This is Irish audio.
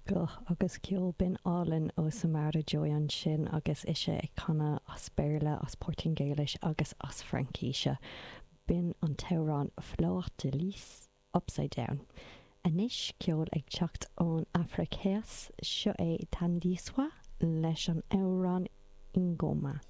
Guth agus ceol binn álainn ó Samara Joy ansin agus ise ag canadh as Béarla, as Portaingéilis agus as Fraincise. B'in an t-amhrán Fleur de Lys, Upside Down. Anois ceol ag teacht ón Afraic Theas, seo é Thandiswa leis an amhrán Ingoma.